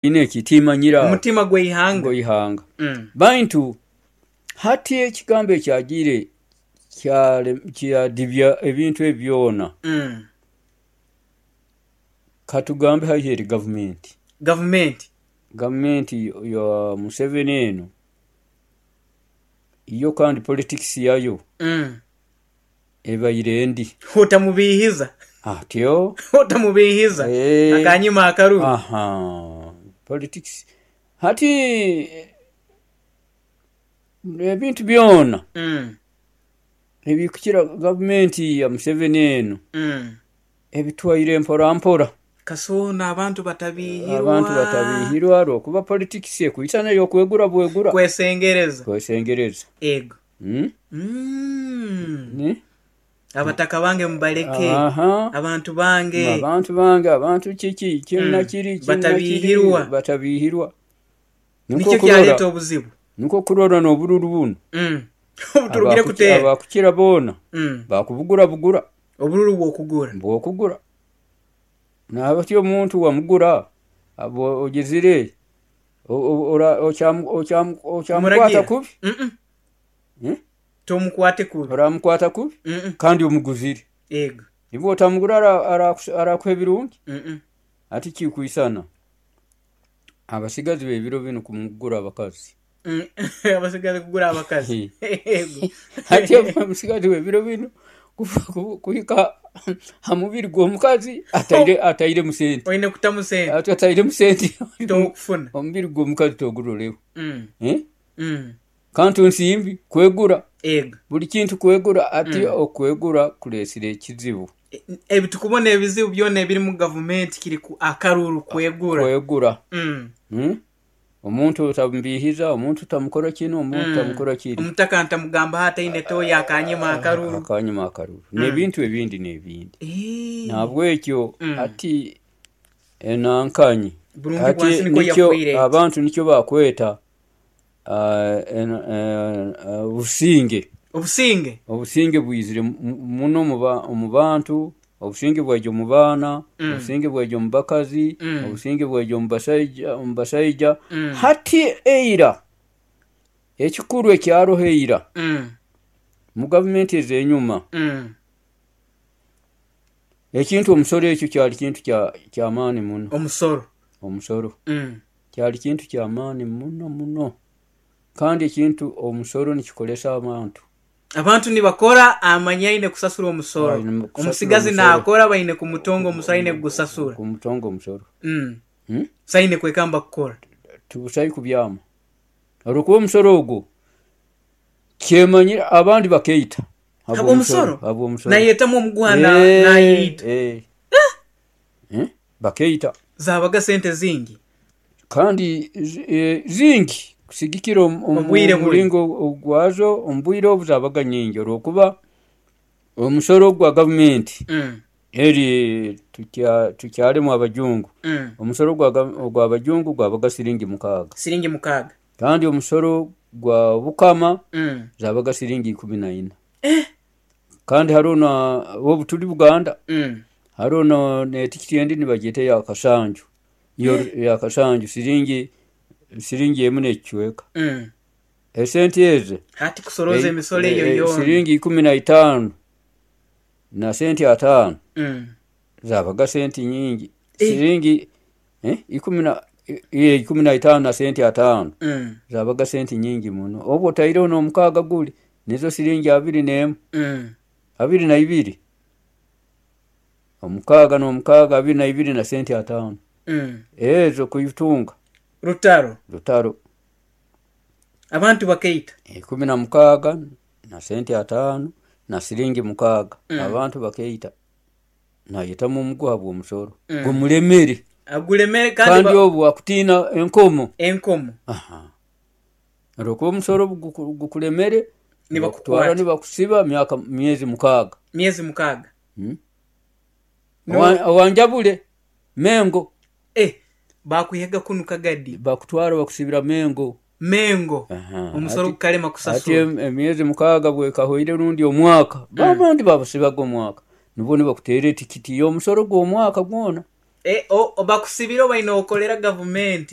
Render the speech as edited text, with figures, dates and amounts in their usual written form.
Ine eki timanyire aho. Omutima gw'eihanga. Gw'eihanga. Baitu hati ekigambo ekyagiire kyadibya ebintu ebi byona, katugambe haihi eri gavumenti. Gavumenti. Gavumenti ya Museveni eno, yo kandi politikisi yayo ebaire ndi. Otamubiihiza. Atyo. Otamubiihiza. Akanyima akaruru. Aha, politikisi. Hati ebintu byona ebikukira gavumenti ya Museveni eno ebitwaire mpora mpora. Kasoona abantu batabiihirwa. Abantu batabiihirwa olwokuba politikisi ekwisana ey'okwegura bwegura. Kwesengereza. Kwesengereza. Ego. Abataka bange mubaleke. Abantu bange. Abantu bange, abantu kiki, kinu na kiri, kinu na kiri. Batabiihirwa. Batabiihirwa. Nikyo kyaleeta obuzibu. Nikwo kurora n'obururu bunu. Obuturugire kuteera. Abakukira boona bakubugura bugura. Obururu bw'okugura. Bw'okugura. Nabati omuntu wamugura, ogizire okyamukwata kubi? Tomukwate kubi. Oramukwata kubi? Kandi omuguzire. Ego. Iwe otamugura arakuha ebirungi? Hati kikwisana abasigazi b'ebiro binu kumugura abakazi. Abasigazi kugura abakazi. Hati omusigazi w'ebiro binu kuhika ha mubiri gw'omukazi atairemu sente. Oine kutamu sente. Atairemu sente. Tokufuna. Omubiri gw'omukazi toguroreho. Kantu nsimbi kwegura. Ego. Buli kintu kwegura hati okwegura kureesire ekizibu. Ebi tukubona ebizibu byona ebiri mu gavumenti kiri ku akaruru kwegura. Kwegura. Omuntu otamubiihiza, omuntu otamukora kinu, omuntu otamukora kiri. Omutaka ntamugambaho ataine toyi akanyima akaruru. Akanyima akaruru. N'ebintu ebindi n'ebindi. Nahabwekyo hati enankanyi Burungi hati bwansi nikwo nikyo yakwire eti. abantu nikyo bakweta obusinge. Obusinge. Obusinge bwizire muno omu bantu, obusinge bwaija omu baana, obusinge bwaija omu bakazi, obusinge bwaija omu basaija. Hati eira, ekikuru ekyaroho eira mu gavumenti ez'enyuma, ekintu omusoro ekyo kyali kintu ky'amaani muno. Omusoro. Omusoro. Kyali kintu ky'amaani muno muno. Kandi ekintu omusoro nikikolesa abantu. Abantu nibakora amanya aine kusasura omusoro. Omusigazi naakora baine kumutonga omusoro aine kugusasura. Kumutonga omusoro. So aine kwekamba kukora. Tibusai kubyama. Olwokuba omusoro ogwo kyemanyire abandi bakeita. Habw'omusoro? Habw'omusoro. Nayetamu omuguha nayeita. Bakeita. Zabaga sente zingi. Kandi zingi kusigikira omu muringo gwazo omu bwire obu zabaga nyingi olwokuba omusoro gwa gavumenti eri tukyarimu abajungu, omusoro gw'abajungu gwabaga siringi 6. Siringi 6. Kandi omusoro gwa Bukama zabaga siringi 14. Kandi hariho na obu turi Buganda, hariho n'etikiti endi nibagyeta eya Kasanju. Eya Kasanju siringi 1 n'ekicweka. Esente ezo Hati kusoroza emisoro eyo yoona. Siringi 15 na sente 5 zabaga sente nyingi. Siringi 15 na sente 5 zabaga sente nyingi muno. Obu otaireho n'omukaaga guri nizo siringi 21. 22. Omukaaga n'omukaaga 22 na sente 5. Ezo kuitunga. Rutaro. Rutaro. Abantu bakeita. 16 na sente 5 na siringi 6. Abantu bakeita. Nayetamu omuguha gw'omusoro. Gumulemere. Agulemere kandi obu akutiina enkomo. Enkomo. Olwokuba omusoro gukulemere nibakutwara nibakusiba myezi 6. Myezi 6. Owanjabure Mengo. Bakwihaga kunu Kagadi. Bakutwara bakusibira Mengo. Mengo. Omusoro gukalema kusasura. Hati emyezi 6 bwekahoire rundi omwaka. Abandi babasibaga omwaka. Nibwo nibakuteera etikiti y'omusoro gw'omwaka gwona. Bakusibire obaine okolera gavumenti.